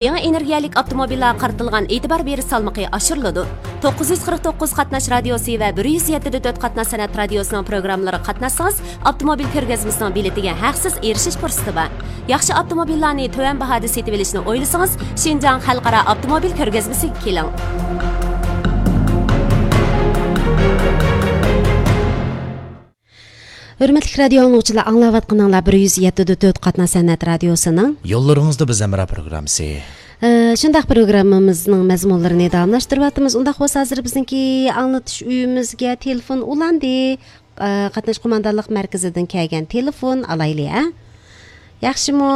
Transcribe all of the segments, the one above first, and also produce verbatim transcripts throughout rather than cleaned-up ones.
يېڭى ئېنېرگىيەلىك ئاپتوموبىللارغا قارىتىلغان ئېتىبار بېرىش سالمىقى ئاشۇرۇلىدۇ. توققۇز يۈز قىرىق توققۇز قاتناش رادىيوسى ۋە بىر يۈز يەتتە دە تۆت قاتناش سەنئەت رادىيوسىنىڭ پروگراممىلىرىغا قاتناشسىڭىز، ئاپتوموبىل كۆرگەزمىسىنىڭ بېلىتىگە ھەقسىز ئېرىشىش پۇرسىتى بار. ياخشى ئاپتوموبىللارنى تۆۋەن باھادا سېتىۋېلىشنى ئويلىسىڭىز، شىنجاڭ خەلقئارا ئاپتوموبىل كۆرگەزمىسىگە كېلىڭ. ھۆرمەتلىك رادىيو ئاڭلىغۇچىلار، ئاڭلاۋاتقىنىڭلار بىر يۈز يەتتە دە تۆت قاتناش سەنئەت رادىيوسىنىڭ يوللىرىڭىزدا بىز ھەمراھ پروگراممىسى. ئە، شۇنداق، پروگراممىمىزنىڭ مەزمۇنلىرىنى داۋاملاشتۇرۇۋاتىمىز. ئۇنداق بولسا، ھازىر بىزنىڭكى ئاڭلىتىش ئۆيىمىزگە تېلېفون ئۇلاندى. ئە، قاتناش قوماندانلىق مەركىزىدىن كەلگەن تېلېفون ئالايلى، ھە؟ ياخشىمۇ؟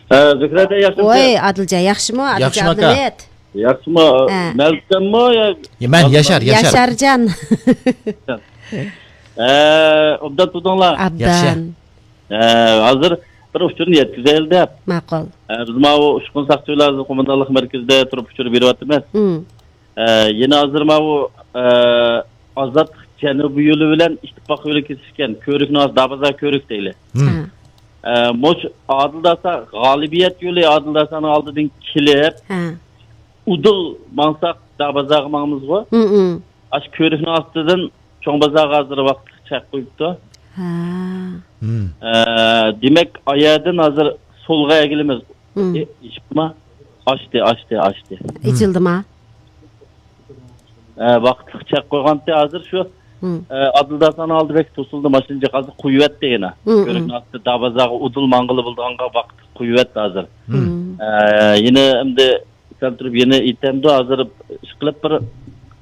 ھە، زۆھرە ئاكا، ياخشىمۇ؟ ۋاي، ئادىلجان، ياخشىمۇ؟ ئادىلجان ياخشىمۇ ئاكا؟ ئابلىمىت. ياخشىمۇ؟ ھە. مەلىكەممۇ يا يا، مەن ياشار، ياشار. ياشارجان. ھە، ئوبدان تۇردۇڭلار؟ ئابدان. ياخشى. ھە، ھازىر بىر ئۇچۇرنى يەتكۈزەيلى دەپ. ماقۇل. ھە، بىز ماۋۇ ئۇچقۇن ساقچى بىلەن قوماندانلىق مەركىزىدە تۇرۇپ ئۇچۇر بېرىۋاتىمىز. مم. ھە، يەنە ھازىر ماۋۇ، ھە، ئازادلىق جەنۇبى يولى بىلەن ئىتتىپاق يولى كېسىشكەن كۆۋرۈكنىڭ ئاستى دابازا كۆۋرۈك دەيلى. مم. ھە. ھە، مۇش ئادىل داسا، غالىبىيەت يولى ئادىل داسانىڭ ئالدىدىن كېلىپ، ھە. ئۇدۇل ماڭساق دابازاغا ماڭىمىزغۇ. مم، مم. ئاشۇ كۆۋرۈكنىڭ ئاستىدىن چوڭ بازارغا ھازىر ۋاقىتلىق چەك قويۇپتۇ. ھە. مم. ئە، دېمەك، ئايەردىن ھازىر سولغا ئەگىلىمىز. مم. ئېشىپتىما؟ ئاشتى، ئاشتى، ئاشتى. ئېچىلدىما؟ ئە، ۋاقىتلىق چەك قويغانتى، ھازىر شۇ، مم. ئە، ئادىل داسانىڭ ئالدى بەك توسۇلدى، ماشىنا جىق ھازىر قويۇۋەتتى يەنە. مم، مم. كۆۋرۈكنىڭ ئاستىدا دابازاغا ئۇدۇل ماڭغىلى بولىدىغانغا ۋاقىتلىق قويۇۋەتتى ھازىر. مم. ئە، يەنە ئەمدى سەل تۇرۇپ يەنە ئېيتەمدۇ، ھازىر ئىشقىلىپ بىر،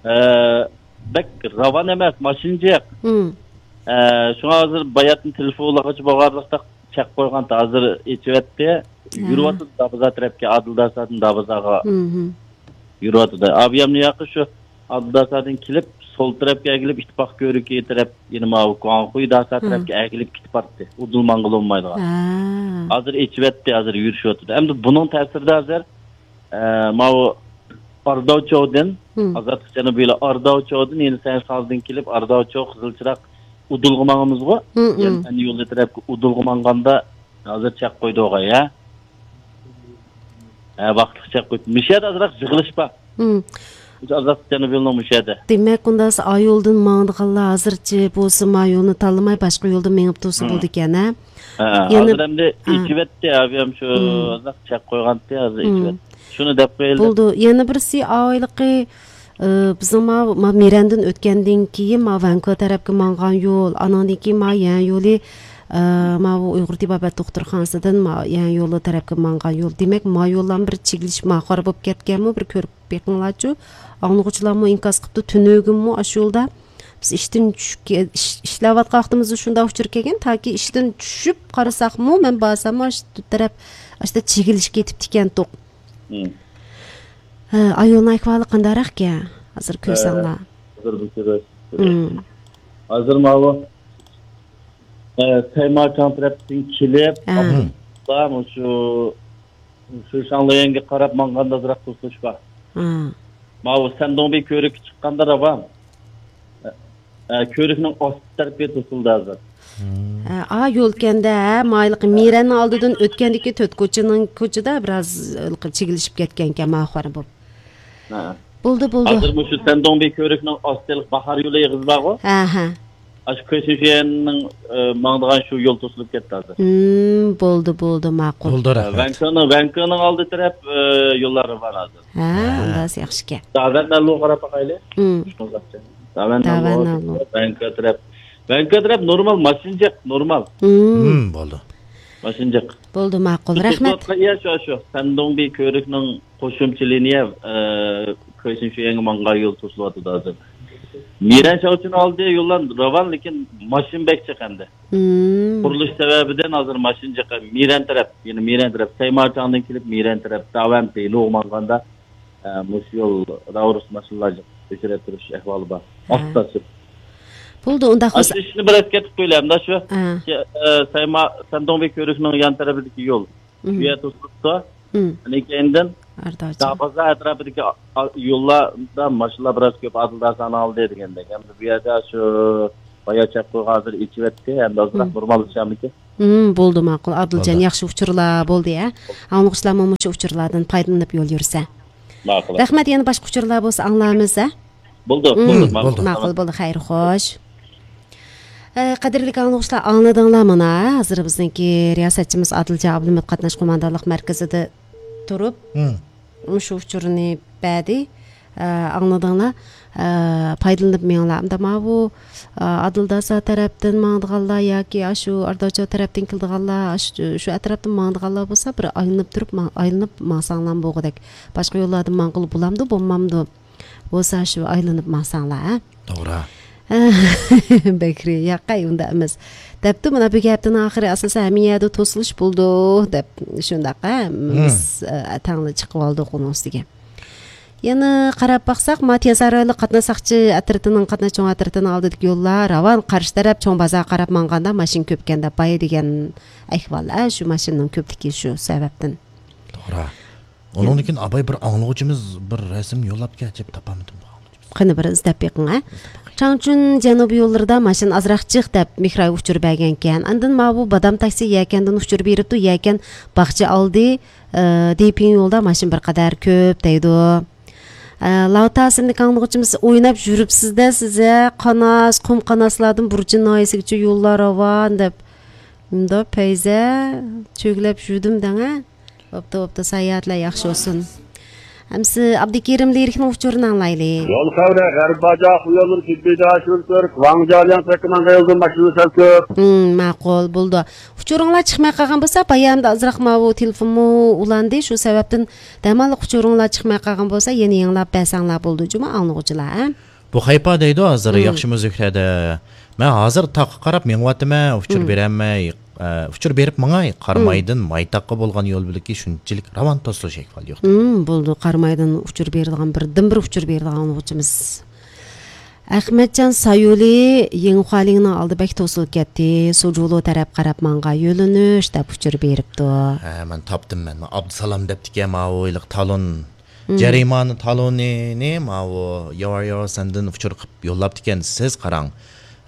ئە، بەك راۋان ئەمەس، ماشىنا جىق. مم. ئە، شۇڭا ھازىر باياتىن تېلېفونلىغۇچى بولغانلىقتا چەك قويغانتى، ھازىر ئېچىۋەتتى. ھە. يۈرۈۋاتىدۇ دابازا تەرەپكە، ئادىل داسادىن دابازاغا. مم. يۈرۈۋاتىدۇ. ئابىيامنى ياقى شۇ ئادىل داسادىن كېلىپ، سول تەرەپكە ئەگىلىپ، ئىتتىپاق كۆۋرۈكى تەرەپ، يەنە ماۋۇ گۇاڭخۇي داسا ھە. تەرەپكە ئەگىلىپ كېتىپ باراتتى. ئۇدۇل ماڭغىلى بولمايدىغان. ھە. ھازىر ئېچىۋەتتى، ھازىر يۈرۈشۈۋاتىدۇ. ئەمدى بۇنىڭ تەسىرىدە ھازىر، ئە، ماۋۇ ئارداۋچوۋدىن، مم. ئازادلىق جەنۇبىي يولى ئارداۋچوۋدىن، يەنە سەنسازدىن كېلىپ، ئارداۋچوۋ، قىزىل چىراغ، ئۇدۇلغا ماڭىمىزغۇ. مم، مم. يەنى ئەنە يولى تەرەپكە ئۇدۇلغا ماڭغاندا، ھازىر چەك قويدۇق، ھە؟ ھە، ۋاقىتلىق چەك قويۇپ. مۇشۇ يەردە ئازراق يىغىلىش بار. مم. مۇشۇ ئازراق جەنۇبىي يولنىڭ مۇشۇ يەردە. دېمەك، ئۇنداق ئا يولدىن ماڭىدىغانلار ھازىرچە بولسا ما يولنى تاللىماي، باشقا يولدا مېڭىپ تۇرسا مم. بولىدىكەن، ھە؟ ھە، يەنە ھازىر ئەمدى ھە. ئېچىۋەتتى، ئابىيام شۇ مم. ئازراق چەك قويغانتى، ھازىر مم. ئېچىۋەتتى. شۇنى دەپ قويايلى. بولدى. يەنە بىرسى ئاۋايلىقى، ئى، بىزنىڭ ما، ما مىرەندىن ئۆتكەندىن كېيىن ما ۋەنكۇ تەرەپكە ماڭغان يول، ئانىڭدىن كېيىن ما يەن يولى، ئى، ماۋۇ ئۇيغۇر تېبابەت دوختۇرخانىسىدىن ما يەن يولى تەرەپكە ماڭغان يول. دېمەك، ما يوللارمۇ بىر چىگلىشىپ ما خارا بولۇپ كەتكەنمۇ، بىر كۆرۈپ بېقىڭلارچۇ. ئاڭلىغۇچىلارمۇ ئىنكاس قىپتۇ، تۈنۈگۈنمۇ ئاشۇ يولدا بىز ئىشتىن چۈشۈپ كە-، ئىش-، ئىشلەۋاتقان ۋاقتىمىزدا شۇنداق ئۇچۇر كەلگەن، تاكى ئىشتىن چۈشۈپ قارىساقمۇ، مەن بارساممۇ ئاشۇ تەرەپ، ئاشۇ تەرەپ چىگلىشىپ كېتىپتىكەنتۇق. مم. ھە، ئايالنىڭ ئەھۋالى قانداقراقكەن؟ ھازىر كۆرسەڭلار. ھازىر بۇ كۆرۈش. مم. ھازىر ماۋۇ، ئە، سەيماچاڭ تەرەپتىن كېلىپ، ھە. ئابدۇللا مۇشۇ شۇشاڭليەنگە قاراپ ماڭغاندا ئازراق توسۇلۇش بار. ھە. ماۋۇ سەندۇڭبى كۆۋرۈككە چىققاندا راۋان. ئە، كۆۋرۈكنىڭ ئاستى تەرىپى توسۇلدى ھازىر. ھە، ئا، يول كەندە، ھە، مايلىقى مىرەننىڭ ئالدىدىن ئۆتكەندىكى تۆت كوچىنىڭ كوچىدا بىراز، ئە، چىگلىشىپ كەتكەنكەن، ماخۇر بولۇپ. ھە. بولدى، بولدى. ھازىر مۇشۇ سەندۇڭبى كۆۋرۈكنىڭ ئاستىلىق باھار يولى ئېغىزى بارغۇ؟ ھە، ھە. ئاشۇ كۆشۈشيەننىڭ، ئە، ماڭىدىغان شۇ يول توسۇلۇپ كەتتى ھازىر. ھىم، بولدى، بولدى، ماقۇل. بولدى، رەھمەت. ۋەنكىنىڭ، ۋەنكىنىڭ ئالدى تەرەپ، ئە، يوللار بار ھازىر. ھە، ھە. ئۇنداق ياخشىكەن. داۋەن نەللۇغا قاراپ باقايلى. ھىم. داۋەن داۋەن نەللۇغا. نەللۇغا. ۋەنكا تەرەپ. ۋەنكا تەرەپ نورمال ماشىنا جىق، نورمال. ھىم. ھىم، بولدى. ماشىنا جىق. بولدى، ماقۇل. رەھمەت. توسۇلۇۋاتقان يەر شۇ، شۇ. سەندۇڭبى كۆۋرۈكنىڭ قوشۇمچە لىنىيە، ئە، كۆشۈن شۇ يەڭگە ماڭغان يول توسۇلۇۋاتىدۇ ھازىر. مىرەن شاۋچىنىڭ ئالدى يوللار راۋان، لېكىن ماشىنا بەك جىق ئەمدى. ھىم. قۇرۇلۇش سەۋەبىدىن ھازىر ماشىنا جىق. مىرەن تەرەپ، يەنە مىرەن تەرەپ، سەيماچاڭدىن كېلىپ مىرەن تەرەپ، داۋەن پېيلۇغا ماڭغاندا، ئە، مۇشۇ يول راۋرۇس ماشىنىلار جىق ئۆچۈرۈپ تۇرۇش ئەھۋالى بار. ھە. ئاستا سۈر. بولدى، ئۇنداق بولسا. ئاشۇ ئىشنى بىر ئەسكەرتىپ قويىلى، ئەمدى شۇ، ھە. ئە، سەيما-، سەندۇڭبى كۆۋرۈكنىڭ يان تەرىپىدىكى يول. شۇ يەر توسۇلۇپتۇ. ئاندىن كېيىندىن دابازا ئەتراپىدىكى ئا-، ئا-، يوللاردا ماشىنىلار بىراز كۆپ، ئادىل داسانىڭ ئالدى دېگەندەك. ئەمدى بۇ يەردە شۇ بايا چەك قويغان ھازىر ئېچىۋەتتى. ئەمدى ئازراق نورماللىشامدىكىن؟ ھىم، بولدى، ماقۇل. ئادىلجان، بولدى. ياخشى ئۇچۇرلار بولدى، ھە؟ ئاڭلىغۇچىلارمۇ مۇشۇ ئۇچۇرلاردىن پايدىلىنىپ يول يۈرسە. ماقۇل. رەھمەت، يەنە باشقا ئۇچۇرلار بولسا ئاڭلارمىز، ھە؟ بولدى، ھىم، بولدى، بولدى. ماقۇل، بولدى، خەير، خوش. ئە، قەدىرلىك ئاڭلىغۇچىلار، ئاڭلىدىڭلار مانا، ھازىر بىزنىڭكى رىياسەتچىمىز ئادىلجان ئابلىمىت قاتناش قوماندانلىق مەركىزىدە تۇرۇپ، ھىم. مۇشۇ ئۇچۇرنى بەردى. ئە، ئاڭلىدىڭلار. ئە، پايدىلىنىپ مېڭىڭلار. ئەمدى ماۋۇ، ئە، ئادىلداسا تەرەپتىن ماڭىدىغانلار ياكى ئاشۇ ئارداچو تەرەپتىن كېلىدىغانلار، ئاشۇ، شۇ ئەتراپتىن ماڭىدىغانلار بولسا، بىر ئايلىنىپ تۇرۇپ ماڭ-، ئايلىنىپ ماڭساڭلارمۇ بولغۇدەك. باشقا يوللاردىن ماڭغىلى بولامدۇ، بولمامدۇ؟ بولسا شۇ ئايلىنىپ ماڭساڭلار، ھە؟ توغرا. بەكرى، ياقەي، ئۇنداق ئەمەس. دەپتۇ، مانا بۈگۈن ھەپتىنىڭ ئاخىرى، ئاساسەن ھەممە يەردە توسۇلۇش بولىدۇ، دەپ. شۇنداق، ھە؟ ھىم. بىز، ئە، تەڭلا چىقىۋالدۇق ئۇنىڭ ئۈستىگە. يەنە قاراپ باقساق، ما تيەنشان رايونلۇق قاتناش ساقچى ئەترىتىنىڭ، قاتناش چوڭ ئەترىتىنىڭ ئالدىدىكى يوللار راۋان، قارشى تەرەپ چوڭ بازارغا قاراپ ماڭغاندا ماشىنا كۆپكەن دەپ بايا دېگەن ئەھۋال، ھە، شۇ ماشىنىنىڭ كۆپلۈكى شۇ سەۋەبتىن. توغرا. ئۇنىڭدىن كېيىن ئاباي بىر ئاڭلىغۇچىمىز بىر رەسىم يوللاپتىكەن، ئەجەب تاپالمىدىم بۇ ئاڭلىغۇچىمىز. قېنى بىر ئىزدەپ بېقىڭ، ھە. چاڭچۈن جەنۇبىي يوللىرىدا ماشىنا ئازراق جىق دەپ مېھراي ئۇچۇر بەرگەنكەن. ئاندىن ماۋۇ بادام تاكسى يەكەندىن ئۇچۇر بېرىپتۇ، يەكەن باغچە ئالدى، ئى، دېپىڭ يولدا ماشىنا بىر قەدەر كۆپ دەيدۇ. ئە، لاۋتا ئىسىملىك ئاڭلىغۇچىمىز ئويناپ يۈرۈپسىز-دە سىز، ھە، قاناس، قۇم قاناسلاردىن بۇرچى ناھىيەسىگىچە يوللار راۋان دەپ. مۇنداق پەيزە، چۆگىلەپ يۈردۈم دەڭە. بوپتۇ، بوپتۇ، ساياھەتلەر ياخشى بولسۇن. ئەمسە ئابدۇكېرىم لىرىكنىڭ ئۇچۇرىنى ئاڭلايلى. يول خەۋىرى، غەربىي باجاق يوللىرى تېببىي داشىۋىل تۈرك، ۋاڭجالياڭ تەرەپكە ماڭغان يولدا ماشىنا سەل كۆپ. ھىم، ماقۇل، بولدى. ئۇچۇرۇڭلار چىقماي قالغان بولسا، بايامدا ئازراق ماۋۇ تېلېفونمۇ ئۇلاندى، شۇ سەۋەبتىن دەماللىق ئۇچۇرۇڭلار چىقماي قالغان بولسا، يەنە يېڭىلاپ بەرسەڭلار بولىدۇ جۇمۇ ئاڭلىغۇچىلار، ھە؟ بۇ خەيپا دەيدۇ ھازىر، ھىم. ياخشىمۇ زۆھرەدە؟ مەن ھازىر تاغقا قاراپ مېڭىۋاتىمەن، ئۇچۇر ھىم. بېرەلمەي، ئە، ئۇچۇر بېرىپ ماڭاي. ھىم. قارامايدىن مايتاققا بولغان يول بۆلىكى شۇنچىلىك راۋان توسۇلۇش ئەھۋالى يوق. ھىم، بولدى، قارامايدىن ئۇچۇر بېرىدىغان، بىردىنبىر ئۇچۇر بېرىدىغان ئاڭلىغۇچىمىز. ئەخمەتجان سايۇلى يىڭخۇالىڭنىڭ ئالدى بەك توسۇلۇپ كەتتى، سۇجۇلۇ تەرەپ قاراپ ماڭغان يۆنىلىش دەپ ئۇچۇر بېرىپتۇ. ھە، مەن تاپتىم، مەن ئابدۇسالام دەپتىكەن، ماۋۇ ھېلىقى تالون. مم. جەرىمانە تالونىنى ماۋۇ ياۋار ياۋار سەندىن ئۇچۇر قىلىپ يوللاپتىكەن. سىز قاراڭ،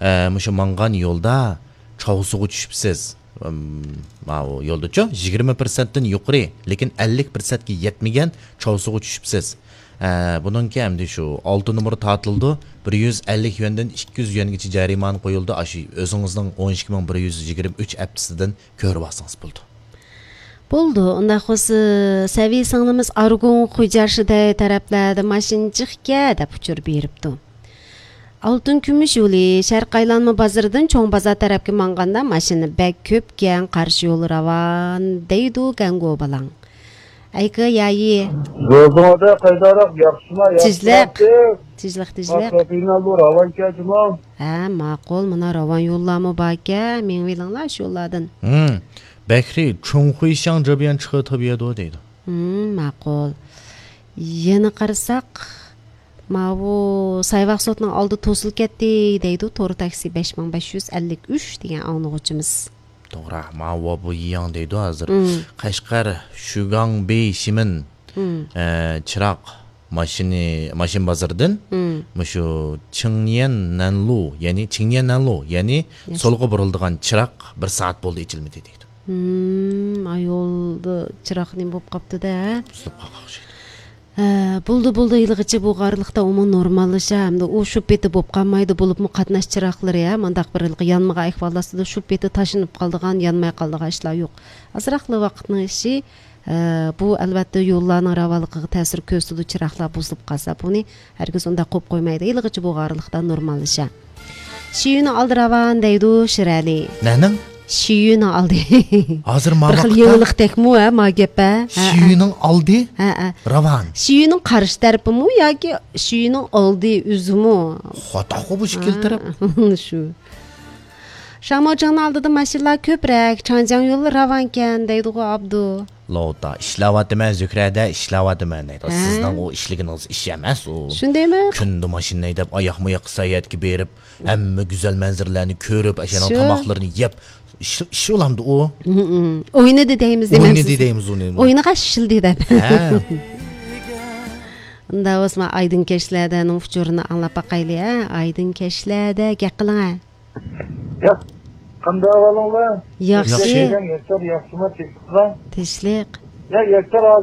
ئە، مۇشۇ ماڭغان يولدا چاۋسۇغا چۈشۈپسىز. ئىم، ماۋۇ يولدىچۇ، يىگىرمە پىرسەنتتىن يۇقىرى، لېكىن ئەللىك پىرسەنتكە يەتمىگەن چاۋسۇغا چۈشۈپسىز. ئە، بۇنىڭكى ئەمدى شۇ ئالتە نومۇر تارتىلىدۇ، بىر يۈز ئەللىك يۈەندىن ئىككى يۈز يۈەنگىچە جەرىمانە قويۇلىدۇ. ئاشۇ ئۆزىڭىزنىڭ ئون ئىككى مىڭ بىر يۈز يىگىرمە ئۈچ ئەپتىسىدىن كۆرۈۋالسىڭىز بولىدۇ. بولىدۇ، ئۇنداق بولسا سەۋىيە سىڭلىمىز ئارغۇن خوجاشىدەي تەرەپلەردە ماشىنا جىقكەن دەپ ئۇچۇر بېرىپتۇ. ئالتۇن كۈمۈش يولى شەرقىي ئايلانما بازىرىدىن چوڭ بازار تەرەپكە ماڭغاندا ماشىنا بەك كۆپكەن، قارشى يول راۋان دەيدۇ گەڭگو بالاڭ. ئەيكە يايى. روزىڭىزدا قايداراق ياخشىما تىجلىق. ياخشىلاپتىڭ؟ تىجلىق، تىجلىق. ئاپتوپىناللو راۋانكەن جۇمۇ. ھە، ماقۇل، مانا راۋان يوللارمۇ باركەن، مېڭىۋېلىڭلار شۇ يوللاردىن. ھىم، بەكرى، چوڭخۇيشاڭ جېبيەن چىقى تېبىيەدۇ دەيدۇ. ھىم، ماقۇل. يەنە قارىساق، ماۋۇ سايۋاق سوتنىڭ ئالدى توسۇلۇپ كەتتى دەيدۇ، تور تاكسى بەش مىڭ بەش يۈز ئەللىك ئۈچ دېگەن ئاڭلىغۇچىمىز. توغرا، ماۋۇ بۇ يىياڭ دەيدۇ ھازىر. مم. قەشقەر شۈگاڭبېي شىمىن، مم. ئە، چىراغ ماشىنى، ماشىنا بازىرىدىن مم. مۇشۇ چىڭيەن نەنلۇ، يەنى چىڭيەن نەنلۇ، يەنى ياش- سولغا بۇرۇلىدىغان چىراغ بىر سائەت بولدى ئېچىلمىدى دەيدۇ. مم، ئا، يولدا چىراغ نېمە بولۇپ قاپتۇ-دە؟ بۇزۇلۇپ قالغان ئوخشايدۇ. ھە، بولدى، بولدى، ھېلىغىچە بۇ ئارىلىقتا ئۇمۇ نورماللىشا، ھەمدە ئۇ شۇ پېتى بولۇپ قالمايدۇ، بولۇپمۇ قاتناش چىراغلىرى، ھە، مۇنداق بىر ھېلىقى يانمىغان ئەھۋال ئاستىدا شۇ پېتى تاشلىنىپ قالىدىغان، يانماي قالىدىغان ئىشلار يوق. ئازراقلا ۋاقىتنىڭ ئىشى، ھە، بۇ ئەلۋەتتە يوللارنىڭ راۋانلىقىغا تەسىر كۆرسىتىدۇ، چىراغلار بۇزۇلۇپ قالسا، بۇنى ھەرگىز ئۇنداق قويۇپ قويمايدۇ، ھېلىغىچە بۇ ئارىلىقتا نورماللىشا. شىيۈنىڭ ئالدى راۋان دەيدۇ شىرئەلى. نەنىڭ؟ شىيۈنىڭ ئالدى. ھازىر ما بىر خىل ۋاقىتتا يېڭىلىق تەكمۇ، ھە، ما گەپ، ھە؟ ھە، ھە. شىيۈنىڭ ئالدى ھە، ھە. راۋان. شىيۈنىڭ قارشى تەرىپىمۇ ياكى شىيۈنىڭ ئالدى ئۆزىمۇ؟ خاتاخۇ بۇ ئىككىلا تەرەپ. ھە، شۇ. شاڭماۋجىڭنىڭ ئالدىدا ماشىنىلار كۆپرەك، چاڭجياڭ يولى راۋانكەن دەيدىغۇ ئابدۇ. لوتا، ئىشلەۋاتىمەن، زۆھرەدە ئىشلەۋاتىمەن دەيدۇ. ھە؟ سىزنىڭ ئۇ ئىشلىگىنىڭىز ئىش ئەمەس ئۇ. شۇندايمۇ؟ كۈندە ماشىنا ھەيدەپ، ئاياقمۇ ياققا ساياھەتكە بېرىپ، ھەممە گۈزەل مەنزىرىلەرنى كۆرۈپ، ئاشۇنىڭ شۇ. تاماقلىرىنى يەپ، ئىش، ئىش بولامدۇ ئۇ؟ ھىم، ھىم. ئوينىدى دەيمىز دېمەمسىز؟ ئوينىدى دەيمىز ئۇنى. ئوينىغان شىلدى دەپ. ھە. ئۇنداق بولسا، ئايدىڭ كەچلەردەنىڭ ئۇچۇرىنى ئاڭلاپ باقايلى، ھە؟ ئايدىڭ كەچلەردە گەپ قىلىڭ، ھە؟ ياق. قانداق ئەھۋالىڭلار؟ ياخشى. ياخشى. ياشار، ياخشىما، تىنچلىقلا؟ تىنچلىق. يا ياشار، ھازىر